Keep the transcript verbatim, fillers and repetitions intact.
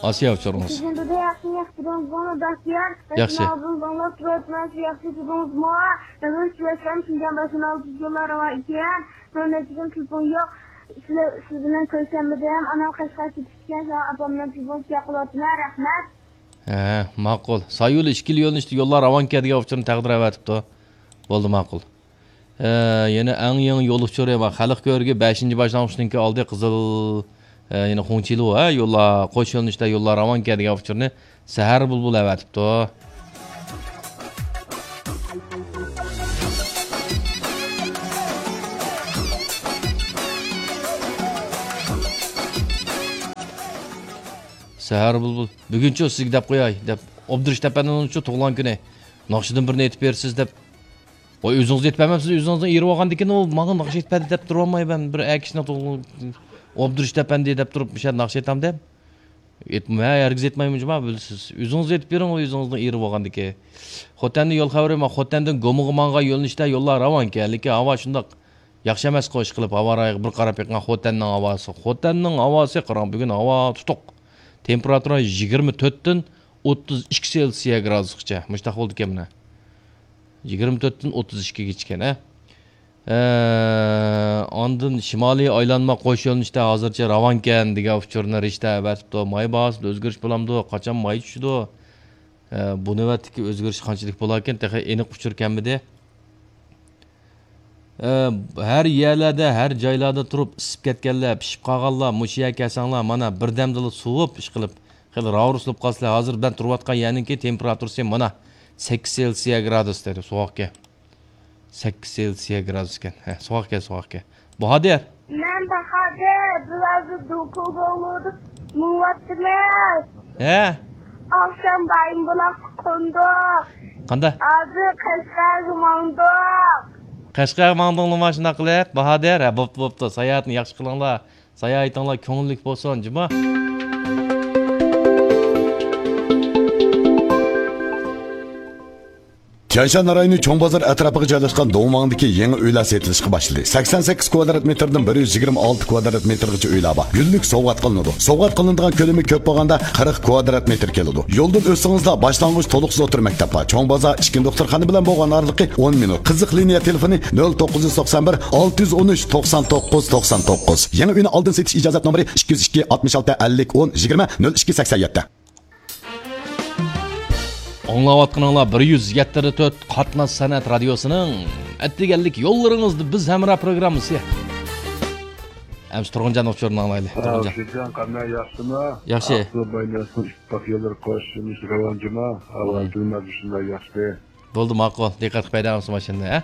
ئاسىيا ئۇچۇرىڭىز. سىزنى بىردە ياخشى، ياخشى تۇردىڭىزمۇ، بەختىيار؟ ياخشى. ئاڭلاپ تۇرۇۋاتىمەن، سىز ياخشى تۇردىڭىزمۇ؟ مەن شۇ ياشام شىنجاڭ باشلىنىۋاتىدىغانلار ئىكەن. مەن نەچچە كۈن تېلېفون يوق. سىلەر، سىز بىلەن كۆرۈشەلمىدىم. ئانام قەشقەر كېتىپتىكەن، شۇڭا ئاپام بىلەن تېلېفون قىلىۋاتىمەن. رەھمەت. ھە، ماقۇل. سايۇل ئىككىلا يۆنىلىشتە يوللار راۋانكەن دېگەن ئۇچۇرنى تەقدىر ئەۋەتىپتۇ. بولدى، ماقۇل. ئە، يەنە ئەڭ يېڭى يول ئۇچۇرى بار. خەلق كۆركى بەشىنچى باشلانغۇچنىڭكى ئالدى قىزىل، ئە، يەنە خۇڭچىلۇ، ھە، يوللار، قوش يۆنىلىشتە يوللار راۋانكەن دېگەن ئۇچۇرنى سەھەر بۇلبۇل ئەۋەتىپتۇ. سەھەر بۇلبۇل، بۈگۈنچۇ سىزگە دەپ قوياي، دەپ، ئوبدۇرۇش ئەپەندىنىڭچۇ تۇغۇلغان كۈنى، ناخشىدىن بىرنى ئېيتىپ بېرىسىز دەپ. ۋاي، ئۆزىڭىز ئېيتىپ بەرمەپسىز، ئۆزىڭىزنىڭ ئېرى بولغاندىكىن، ئۇ ماڭا ناخشا ئېيتىپ بەردى دەپ تۇرۇۋالماي، مەن بىر ئەر كىشىنىڭ توغ-، ئوبدۇرۇش ئەپەندى دەپ تۇرۇپ، مۇشۇ ناخشا ئېيتامدۇ دەپ. ئېيتما-، ھە، ھەرگىز ئېيتمايمەن جۇما، بىلىسىز. ئۆزىڭىز ئېيتىپ بېرىڭ، ئۆزىڭىزنىڭ ئېرى بولغاندىكىن. خوتەندىن يول خەۋىرى، مانا، خوتەندىن گۇمىغا ماڭغان يۆنىلىشتە يوللار راۋانكەن، لېكىن ھاۋا شۇنداق ياخشى ئەمەسقۇ، ئىشقىلىپ، ھاۋا رايىغا بىر قاراپ بېقىڭ، خوتەننىڭ ھاۋاسى. خوتەننىڭ ھاۋاسى، قاراڭ، بۈگۈن ھاۋا تۇتۇق. تېمپېراتۇرا يىگىرمە تۆتتىن ئوتتۇز ئىككى سېلسىيە گرادۇسقىچە. مۇشۇنداق بولىدىكەن مانا. يىگىرمە تۆتتىن ئوتتۇز ئىككىگىچىكەن، ھە. ئە، ئاندىن شىمالىي ئايلانما قوش يۆنىلىشتە ھازىرچە راۋانكەن دېگەن ئۇچۇرنى رىشتە ئەۋەتىپتۇ. ماي باھاسىدا ئۆزگىرىش بولامدۇ؟ قاچان ماي چۈشىدۇ؟ ئە، بۇ نۆۋەتتىكى ئۆزگىرىش قانچىلىك بولاركىن؟ تېخى ئېنىق ئۇچۇر كەلمىدى. ئە، ھەر يەرلەردە، ھەر جايلاردا تۇرۇپ ئىسسىپ كەتكەنلەر، پىشىپ قالغانلار، مۇشۇ يەرگە كەلسەڭلار، مانا، بىردەمدىلا سوۋۇپ، ئىشقىلىپ، خېلى راۋۇرۇسلىنىپ قالىسىلەر. ھازىر مەن تۇرۇۋاتقان يەرنىڭكى تېمپېراتۇرىسى مانا سەككىز سېلسىيە گرادۇس دەيدۇ، سوغۇقكەن. سەككىز سېلسىيە گرادۇسكەن. ھە، سوغۇقكەن، سوغۇقكەن. باھادىر. مەن باھادىر، بىر ھازىر دولقۇن دولقۇن مېڭىۋاتىمىز. ھە؟ ئاخشام بايىنبۇلاققا قوندۇق. قانداق؟ ھازىر قەشقەرگە ماڭدۇق. قەشقەرگە ماڭدۇڭلىما شۇنداق قىلىپ؟ باھادىر، ھە، بوپتۇ، بوپتۇ. ساياھەتنى ياخشى قىلىڭلار. ساياھىتىڭلار كۆڭۈللۈك بولسۇن، جۇما. تيەنشان رايونى چوڭ بازار ئەتراپىغا جايلاشقان دوڭماڭدىكى يېڭى ئۆيلەر سېتىلىشقا باشلىدى. سەكسەن سەككىز كۋادرات مېتىردىن بىر يۈز يىگىرمە ئالتە كۋادرات مېتىرغىچە ئۆيلەر بار. گۈللۈك سوۋغات قىلىنىدۇ. سوۋغات قىلىنىدىغان كۆلىمى كۆپ بولغاندا قىرىق كۋادرات مېتىر كېلىدۇ. يولدىن ئۆتسىڭىزلا باشلانغۇچ تولۇقسىز ئوتتۇرا مەكتەپ بار. چوڭ بازار ئىچكى دوختۇرخانا بىلەن بولغان ئارىلىقى ئون مىنۇت. قىزىق لىنىيە تېلېفونى نۆل توققۇز يۈز توقسان بىر، ئالتە يۈز ئون ئۈچ، توقسان توققۇز، توقسان توققۇز. يېڭى ئۆينى ئالدىن سېتىش ئىجازەت نومۇرى ئىككى يۈز ئىككى، ئاتمىش ئالتە، ئەللىك، ئون، يىگىرمە، نۆل ئىككى، سەكسەن يەتتە. ئاڭلاۋاتقىنىڭلار بىر يۈز يەتتە تۆت قاتناش سەنئەت رادىيوسىنىڭ ئەتىگەنلىك يوللىرىڭىزدا بىز ھەمراھ پروگراممىسى. ئەمسە تۇرغۇنجان ئۇچۇرىنى ئاڭلايلى، تۇرغۇنجان. شىرجان قانداق، ياخشىمۇ؟ ياخشى. ئاقسۇ بايناسنىڭ ئىتتىپاق يوللىرى قوشۇلۇش راۋان جۇما. ھاۋا كىلىماتى شۇنداق ياخشى. بولدى، ماقۇل. دىققەت قىلىپ ھەيدەڭ ماشىنىنى، ھە؟